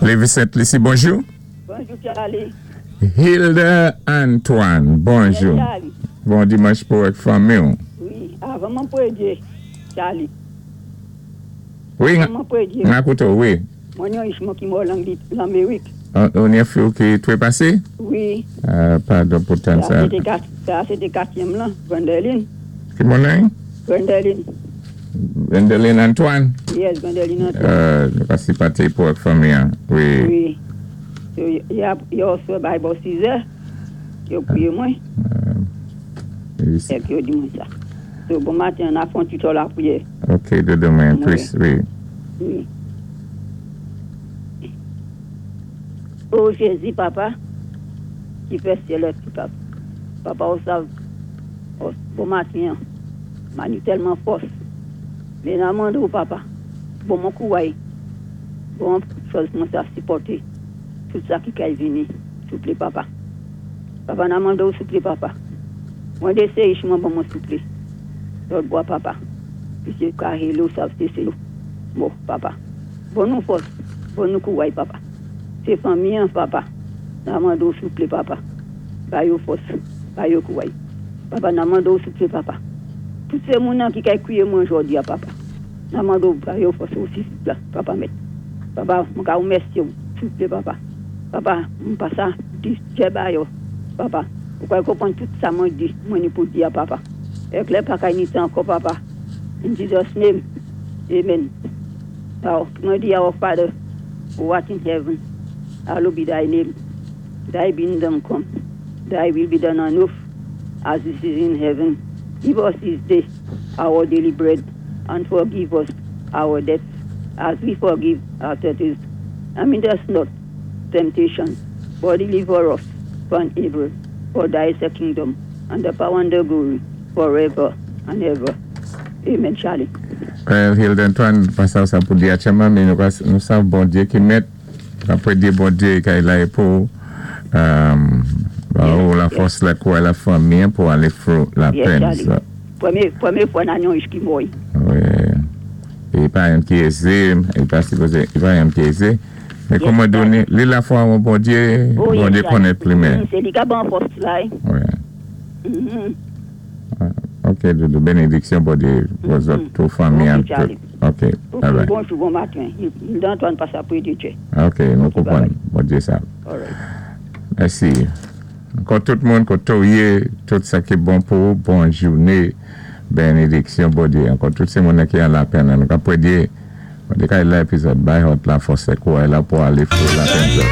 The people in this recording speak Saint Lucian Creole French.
Lévis Sainte-Lucie, bonjou. Bonjou, Charlie. Hilda Antoine, bonjou. Yes, Charlie. Bon dimanch pou ak fanmi. Wi, avan mwen pwédyé, Charlie. Wi, Avan mwen pwédyé. N akoute, wi. Mwen ni yon ich mwen ki mò lan Lanmérik. Ou ni fi ki twépasé? Wi. Padon pou tann sa. Sa sé té katyèm lan, Gwendoline. Ki moun nan? Gwendoline. Gwendoline Antoine? Yes, Gwendoline Antoine. Nou ka sipati pou ak fanmi, en. Wi. Wi. So, yè oswa bay bò 6 è, yo pwiyé mwen. Èk yo di mwen sa. So, bon maten, an a fè yon ti tan lapwiyè. Ok, dodo mwen, plis, wi. Wi. Oh Jézi, Papa, ki fè syèl ak tout papa. Papa, ou sav, oh, bon maten, m ni tèlman fòs. Mé n ap mandé, Papa, ban mwen kouway, bon chòz mwen sa sipòté tout sa ki kay vini, souplé, Papa. Papa, n ap mandé, souplé, Papa. Mwen dé sé ich mwen ban mwen souplé. Lòt bò, Papa. Piské ka ou sav sé sé bon, Papa. Ban nou fòs, ban nou kouway, Papa. Sé fanmi, Papa. N ap mandé, souplé, Papa. Ba yo fòs, ba yo kouway. Papa, n ap mandé, souplé, Papa. Tout sé moun ki kay kwiyé mwen jòdi a, Papa. N ap mandé ba yo fòs osi, la, Papa mèt. Papa, mwen ka wémèsyé, souplé, Papa. Papa, m pa sa di djè ba yo, Papa. Ou kay konpwann tout sa mwen di, mwen ni pou di a Papa. Èk lè pa kay ni tan ankò, Papa. In Jesus' name. Amen. Now, mwen di, "Our Father, who art in heaven, hallowed be thy name. Thy kingdom come. Thy will be done on earth as it is in heaven. Give us this day our daily bread, and forgive us our debts as we forgive our debtors. And lead us not temptation, but deliver us from evil. For thy is the kingdom, and the power and the glory, forever and ever. Amen, Charlie." Well, Hilda Antoine, pa sa sa pou di aktyèlman, mé nou, nou sav Bondyé ki mèt, apwé di Bondyé kay la pou ba ou la fòs la kouway la fanmi pou alé through la Yes, pèn. Charlie. So, Pwémyé fwa nan yon ich ki mo'y. Wi. É pa youn ki ézé, é pa sipozé, é pa youn ki ézé. Mé kòman donné, li lafwa an Bondyé, Oh, yes, Bondyé Charlie. konnèt plimen. Sé li ka ban fòs la. Eh. Wi. Ok, dodo, bénédiksyon Bondyé pou zòt, tout fanmi Ok, tout. Charlie. Ok, Ok, bye bye. Bonjou, bon maten. Hilda Antoine pa sa pwédyé djè. Ok, nou konpwann. Bondyé sa. All right. Mèsi. Ankò tout moun, koté ou yé, tout sa ki bon pou ou, bon jouné, bénédiksyon Bondyé. Ankò tout sé moun ki an lapèn, nou ka pwédyé, Bondyé kay la épizòd, bay hòt la fòs kouway la pou alé through lapèn.